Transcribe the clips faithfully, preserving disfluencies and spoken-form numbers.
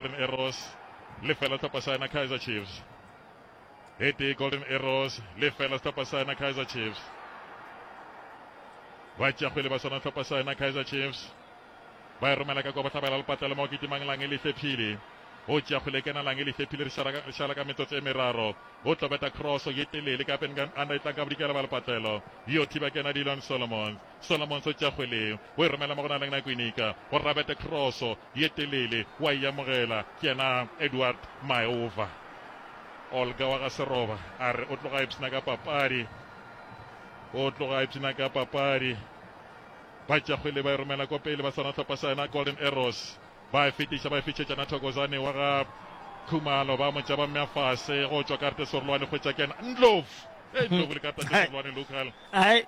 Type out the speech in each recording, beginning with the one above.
Golden Arrows lefela sehlopha sa yona Kaizer Chiefs. E tee Golden Arrows lefela sehlopha sa yona Kaizer Chiefs. Ba tšea kgwele ba swana sehlopha sa yona Kaizer Chiefs. Ba e romela ka kwa bohlabela lepatlelo mo kitimang Lange le hlephile. O tšea kgwele e kena Lange le hlephile re šala re šala ka metsotso e meraro. O tlo beta cross ye telele ka pele anda e tlang ka bodikela ba lepatlelo. Yo thiba kena Dillon Solomons. Solomons o tšea kgwele o e romela mo go na leng na Kwinika gore a bete cross ye telele wa e amogela ke yena Edward Maova. Olga wa ga Seroba a re o tloga a ipshina ka papadi. O tloga a ipshina ka papadi. Ba tšea kgwele ba e romela ko pele ba swana hlopha sa yena Golden Arrows. Ba e fetiša ba e fišetšana Thokozane wa ga Khumalo ba mo tša ba mmea fase go tšwa karate Serolwane hwetša ke yena Ndlovu. Hey Ndlovu le karata tše Serolwane local. Ai.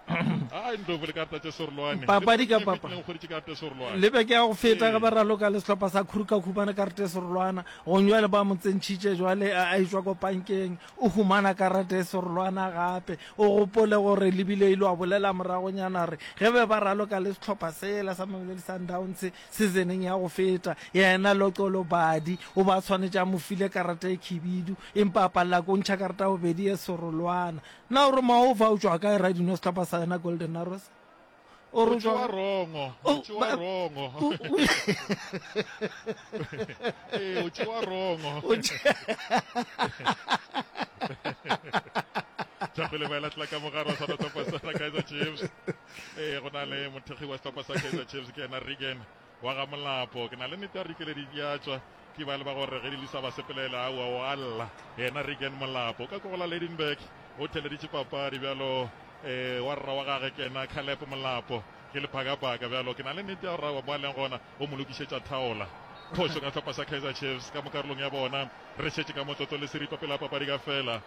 Ai Ndlovu le karata tše Serolwane. Papadi ka papa. Le hweditše karate Serolwane. Le beke ya go feta ge ba raloka le sehlopha sa Kruger khumana karate Serolwana. Gong jwale ba mo tsentšhitše jwale a etšwa ko pankeng. O humana karate Serolwana gape. O gopole gore le bile ile wa bolela moragonyana re ge be ba raloka le sehlopha sela sa Mamelodi Sundowns seasoneng ya go feta yena Loxolo Badi o ba tshwanetše a mo file karata e khibidu empa a palela ko ntšha karata ya bobedi ye serolwana. Na o re Maova o tšwa kae Radino sehlopha sa yena Golden Arrows? O re o tšwa rongo, o tšwa rongo. Ee, o tšwa rongo. Tšwa ba latela ka mogare wa sona sehlopha sa Kaizer Chiefs. Ee, go na le mothekgi wa sehlopha sa Kaizer Chiefs ke yena Regan wa ga Molapo. Ke na le nnete ya gore dikeledi di a tšwa ke ba le ba gore ge di lisa ba sepelela aowa o a lla. Yena Regan Molapo ka ko go la Lydenburg o theleditše papadi bjalo eh wa rra wa gage ke yena Caleb Molapo ke lephakapaka bjalo ke na le nnete ya gore aowa mo a leng gona o mo lokišetša thaola. Phošo ka sehlopha sa Kaizer Chiefs ka mo karolong ya bona re šetše ka motlotlo le seripa pele ga papadi ka fela.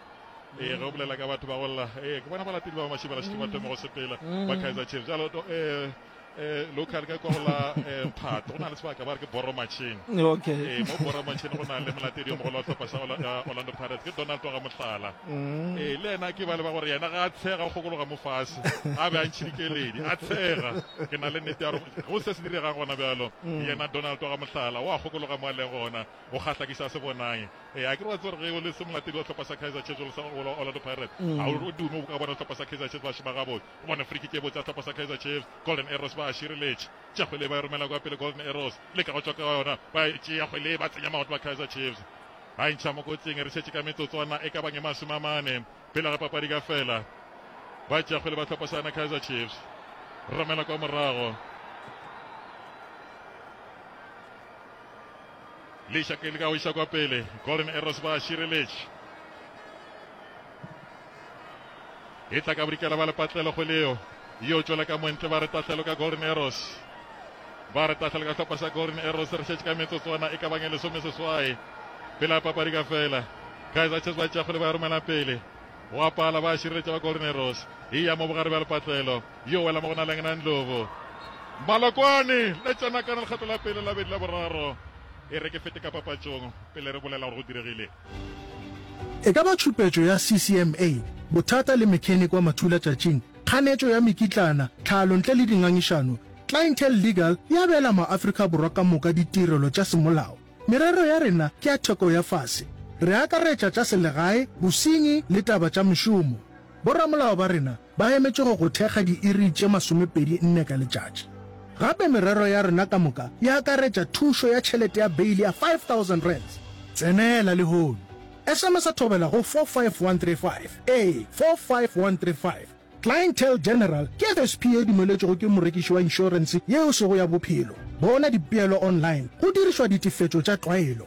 Ee, ge o bolela ka batho ba go lla, ee, ke bona balatedi ba Mashibela šetše ba thome go sepela ba Kaizer Chiefs. Bjalo eh eh local ka kwa go la eh, Phato go na le sebaka ba re ke Boro Machine. Okay. Ee, mo Boro Machine go na le molatedi yo mogolo wa sehlopha sa Orla- eh, Orlando Pirates ke Donald wa ga Mohlala. Ee, le yena ke ba le ba gore yena ga a tshega o kgokologa mo fase a be a ntšhe dikeledi a tshega. Ke na le nnete ya gore go se se diregang gona bjalo yena Donald wa ga Mohlala o a kgokologa mo a leng gona o kgahla ke sa se bonang. Ee, a ke re wa tseba gore ge o le se molatedi wa sehlopha sa Kaizer Chiefs o le sa Orlando Pirates ga o dume o ka bona sehlopha sa Kaizer Chiefs ba šoma gabotse. O bone free kick e botse ya sehlopha sa Kaizer Chiefs. Golden Arrows ba a šireletša. Tšea kgwele ba e romela kwa pele Golden Arrows leka go tšwa ka yona ba e tšea kgwele ba tsenya maoto ba Kaizer Chiefs. Ba e ntšha mo kotsing re šetše ka metsotswana e ka bang e masome a mane pele ga papadi ka fela. Ba tšea kgwele ba sehlopha sa yona Kaizer Chiefs. Romela kwa morago. Leša ke leka go iša kwa pele. Golden Arrows ba šireletše. E tla ka bodikela ba lepatlelo kgwele yeo. Yo tšwela ka montle ba re tahlelo ka Golden Arrows. Ba re tahlelo ka sehlopha sa Golden Arrows re šetše ka metsotswana e ka bang e lesome seswai pele ga papadi ka fela. Kaizer Chiefs ba tšea kgwele ba e romela pele. Go a pala ba šireletša ba Golden Arrows. E ya mo bogare bja lepatlelo. Yo wela mo go na leng na Ndlovu. Malokwane le tsena kana lekgetlo la pele la bedi la boraro. E re ke fete ka papatšong pele re bolela gore go diregile. E ka ba tšhupetšo ya C C M A, bothata le mechanic wa mathulatšatšing, kganetšo ya mekitlana, tlhalo ntle le dingangišano, Clientele Legal e abela maAfrika Borwa ka moka ditirelo tša semolao. Merero ya rena ke ya theko ya fase. Re akaretša tša selegae, bosenyi le taba tša mešomo. Boramolao ba rena ba emetše go go thekga diiri tše masomepedi nne ka letšatši. Gape merero ya rena ka moka e akaretša thušo ya tšhelete ya beili ya five thousand rands. Tsenela lehono. S M S thobela go four five one three five, ee, four five one three five. Clientele General ke F S P ye e dumeletšwego ke morekiši wa inšorense yeo e sego ya bophelo. Bona dipeelo online go dirišwa ditefetšo tša tlwaelo.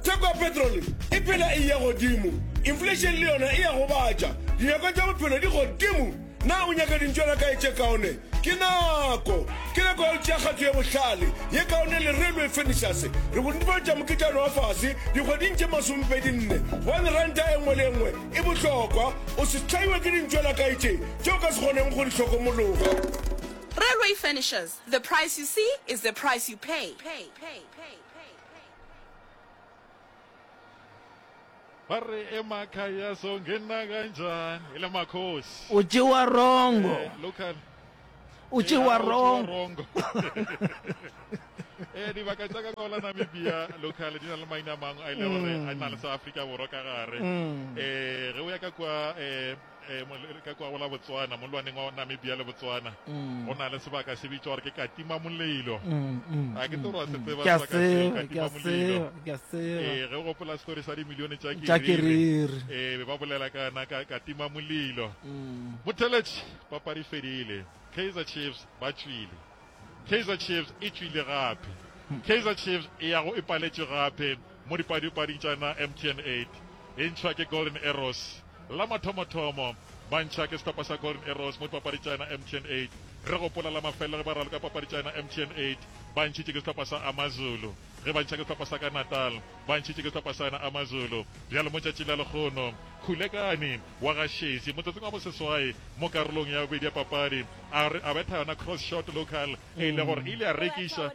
Theko ya petrole e phela e eya godimo, inflation le yona e a gobatša. Dinyakwa tša bophelo di godimo. Na o nyaka dintšwelakae tše kaone? Ke nako! Ke nako ya go tšea kgato ye bohlale, ye kaone le Railway Furnitures. Re go netefaletša moketšana wa fase dikgweding tše masomepedi nne, gobane ranta e nngwe le e nngwe e bohlokwa. O se hlaiwe ke dintšwelakae tše tše o ka se kgoneng go di hlokomologa. Railway Furnitures, the price you see is the price you pay. Ba re emakhaya songena kanjani e le makhosi. O tšewa rongo. Eh, local. O tšewa Eh, rongo. rongo. Eh dibaka tša ka kwa la Namibia local di na le maina a mangwe a e le gore a na le sa Afrika Borwa ka gare. Eh ge o ya ka kwa eh eh mo- ka kwa go la Botswana molwaneng wa Namibia le Botswana go na le sebaka se bitšwa gore ke Katima Molelo. A ke tsebe gore wa se tseba Ke a sebaka seo, tseba, ke a Katima Molelo. tseba, ke a tseba. Eh ge o gopola story sa dimilione tša Tša Keriri. Keriri. Eh be ba bolela ka na ka Katima Molelo. Motheletši papadi e fedile. Kaizer Chiefs ba tšwile. Kaizer Chiefs e tšwile gape. Kaizer Chiefs e ya go e paletšwe gape mo dipadipading tša na M T N eight. E ntšhwa ke Golden Arrows. La mathomothomo ba ntšha ke sehlopha sa Golden Arrows mo dipapading tša yona M T N eight. Re gopola la mafelelo ge ba raloka papadi tša yona M T N eight ba ntšhitše ke sehlopha sa AmaZulu. Ge ba ntšha ke sehlopha sa ka Natal ba ntšhitše ke sehlopha sa yona AmaZulu. Bjalo mo tšatšing la lekgono Khulekani wa ga Shezi motsotsong wa boseswai mo karolong ya bobedi ya papadi a re a betha yona cross shot local e ile gore e ile ya rekiša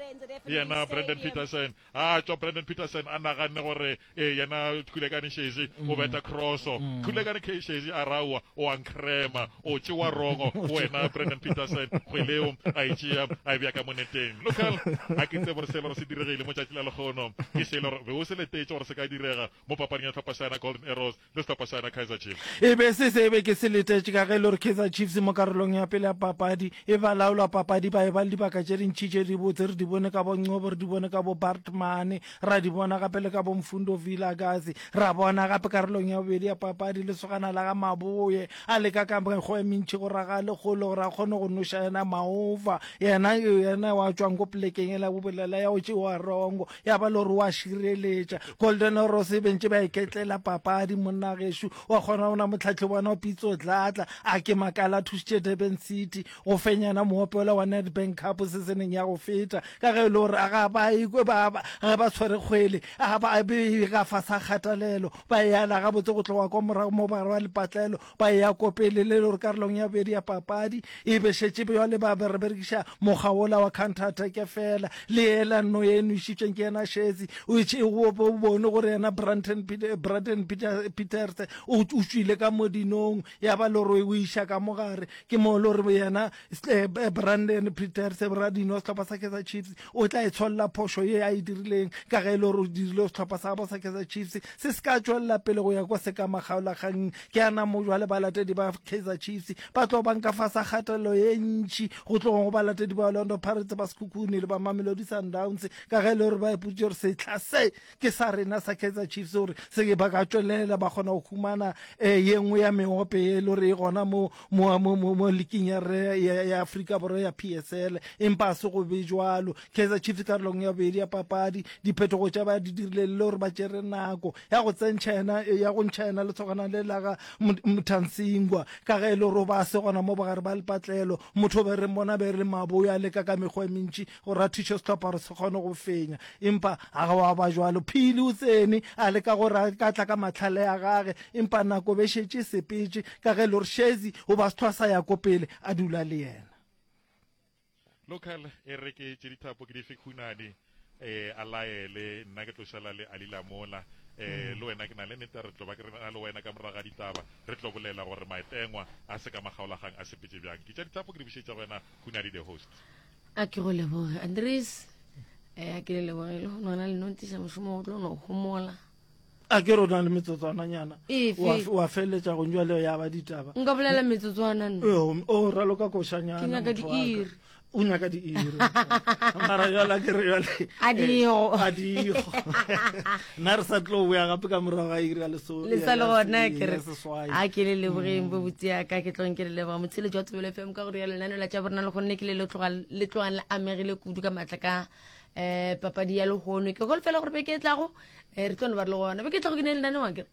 yena Brandon Petersen. A tšwa Brandon Petersen a naganne gore e yena Khulekani Shezi o betha crosso. Khulekani K Shezi a raowa o a nkrema o tšewa rongo wena Brandon Petersen kgwele eo a e tšea a e bea ka moneteng. Local a ke tsebe gore se le gore se diregile mo tšatši la lekgono ke se le gore be o se letetše gore se ka direga mo papading ya sehlopha sa yena Golden Arrows le sehlopha sa yena Kaizer Chiefs. E be se se be ke se letetše ka ge e le gore Kaizer Chiefs mo karolong ya pele ya papadi e ba laola papadi ba e ba le dibaka tše dintši tše dibotse re di bone ka bo Ncobo re di bone ka bo Bartman ra di bona gape le ka bo Mfundo Vilakazi ra bona gape karolong ya bobedi ya papadi lesogana la ga Maboye a leka ka mekgwa e mentši go raga lekgolo gore a kgone go noša yena Maova yena yena wa tšwang ko polekeng ela bobolela ya go tšewa rongo ya ba le gore wa šireletša Golden Arrows e bentše ba iketlela papadi monna gešo wa kgona ona motlhahli bona Pitso Dladla a ke makala a thušitše Durban City go fenyana moopelo wa Nedbank Cup se se neng ya go feta ka ge e le gore ga ba ikwe ba ba ge ba tshwere kgwele a ba be ka fa sa kgatelelo ba e ala gabotse go tloga kwa morago mo ba wa lepatlelo ba e ya ko pele le le gore karolong ya bobedi ya papadi e be šetše bjale ba be re berekiša mokgwa wola wa counter attack fela le ela nno ye nwešitšeng ke yena Shezi o itše o bone gore yena Brandon Peter, Brandon Peter, Peters o o tšwile ka modinong ya ba le gore o iša ka mogare ke mo le gore yena eh, Brandon Peters radino sehlopha sa Kaizer Chiefs o tla e tsholla phošo ye a e dirileng ka ge e le gore o dirile sehlopha sa gabo sa Kaizer Chiefs se se ka tšwelela pele go ya kwa se ka makgaolakgang ke ana mo jwale balatedi ba Kaizer Chiefs ba tlo bang ka fasa kgatelelo ye ntši go tlogong go balatedi ba Orlando Pirates ba Sekhukhune le ba Mamelodi Sundowns ka ge e le gore ba ipotše gore sehla se ke sa rena sa Kaizer Chiefs gore se ba ka tšwelela ba kgona go humana eh, ye nngwe ya meope e le gore e gona mo mo mo mo, mo liking ya re ya, ya Afrika Borwa ya P S L empa a se go be jwalo. Kaizer Chiefs karolong ya bobedi ya papadi diphetogo tša ba di dirile le gore ba tšere nako ya go tsentšha yena ya go ntšha yena letshogana le la ga Mthansingwa ka ge e le gore ba se gona mo bogare ba lepatlelo motho be re mmona be re maboyo a leka ka mekgwa e mentši gore a thuše sehlopha gore se kgone go fenya empa a ga wa ba jwalo. Phili o tsene a leka gore a ka tla ka mahlale a gage empa nako be šetše sepetše ka ge e le gore Shezi o ba sehlwa sa ya ko pele a dula le yena. Local e re ke tše dithapo ke dife khunane eh a laele nna ke tlo šala le Ali Lamola eh le wena ke na le nnete re tlo ba ke re na le wena ka morago ga ditaba re tlo bolela gore maetengwa a se ka makgaolagang a sepetše bjang. Ke tša dithapo ke di bušetša go wena Khunadi the host. A ke go leboge Andres eh a ke le leboge le go nona le nontiša mošomo o tlo no homola. A ke re o na le metsotswananyana Efe? wa wa feleletša go njwale ya ba ditaba. Nka bolela metsotswana nna. Ee, o raloka košanyana Ke nyaka motho wa ka. diiri. O nyaka diiri. Mara jwale a ke re jwale, A diego. eh, a diego. Nna re sa tlo boya gape ka morago ga iri ya leso- Le sa le ya- gona, ya ke re, seswai. a ke le lebogeng bo botse ya ka, ke tlong ke le leboga. Motsheletši wa Thobela F M ka gore ya lenaneo la tša borena le gonne ke le le tloga, le tlogang le amegile kudu ka matla ka, eh, papadi ya lehono. Ke holofela gore beke e tlago, eh, re tlo no ba re le gona. Beke e tlago ke ne lenaneo akere?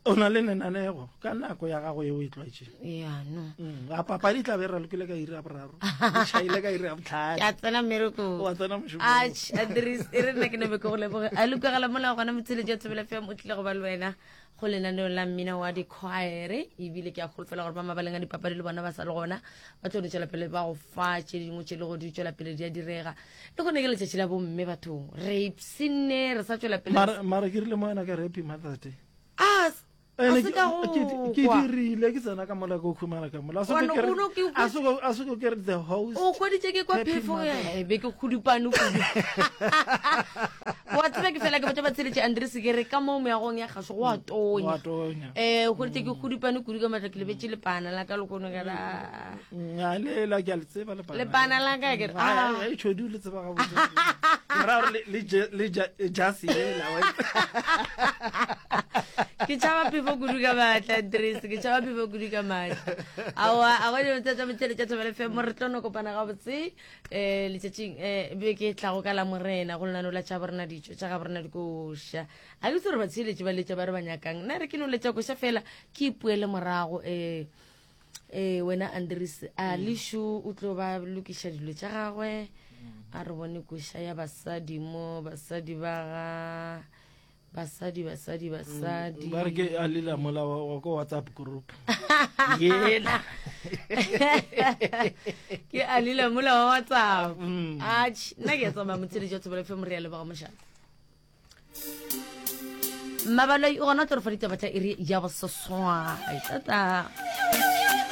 O na le lenanego ka nako ya gago ye o e tlwaetšeng. Ya, no. Mm, a papadi e tla be e ralokile ka iri ya boraro. E tšhaile ka iri ya bohlano. Ke a tsena mmerekong. Wa tsena mošomong. Atjhe, Andries, e re nna ke nebe ke go leboge. A le utlwagala mola gona motsheletši wa Thobela F M o tlile go ba le wena go lenaneo la mmino wa di-choir. Ebile ke a holofela gore ba mabaleng a dipapadi le bona ba sa le gona ba tlo no tšwela pele ba go fa tše dingwe tše le go di tšwela pele di a direga. Le gone ke letšatši la bomme bathong, re ipshinne, re sa tšwela pele. Mara, mara ke rile mo wena ka re happy Mother's Day. Ah, Ene A se ke- ka go ke- ke kwa. dirile ke tsena ka mola ke khumana ka mola. A se Wa ko no- ke re- o no ke a se ko- a se ko ke re the host. O hweditše ke kwa Happy phefo mother. e be ke kgudupane kudu. Wa tseba ke fela ke botša batsheletše Andres ke re ka mo meagong ya kgašo go a Go a tonya. tonya. Eh o hweditše ke kgudupane kudu ka matla ke lebetše lepana la ka lekono ka la Nya le la ke a le tseba lepana. Lepana la ka ke re, ah. Ai tšhodi o le tseba gabotse. Ke ra gore le- le je- le ja- jase yela, wa itse. Ke tšhaba phefo kudu ka maatla Andres, ke tšhaba phefo kudu ka maatla. Aowa, a go dilo tša metšhele tša Thobela F M, re tlo no kopana gabotse eh letšatšing eh beke e tlago ka la Morena go lenaneo la tša borena ditšo tša ga borena dikoša. A ke tsebe gore batsheletši ba letša ba re ba nyakang. Nna re ke no letša koša fela ke ipuele morago eh eh wena Andres a Leshu o tlo ba lokiša dilo tša gagwe. A re bone koša ya basadi mo basadi ba ga basadi basadi basadi. Ba re ke a lela mola wa wa ko WhatsApp group. Yela. Ke a lela mola wa WhatsApp. Mm. Atjhe, nna ke a tsamaya motsheletši wa Thobela F M, re a leboga mošate. Mmabaloi o gona o tlo re fa ditaba tša iri ya boseswai. Tata.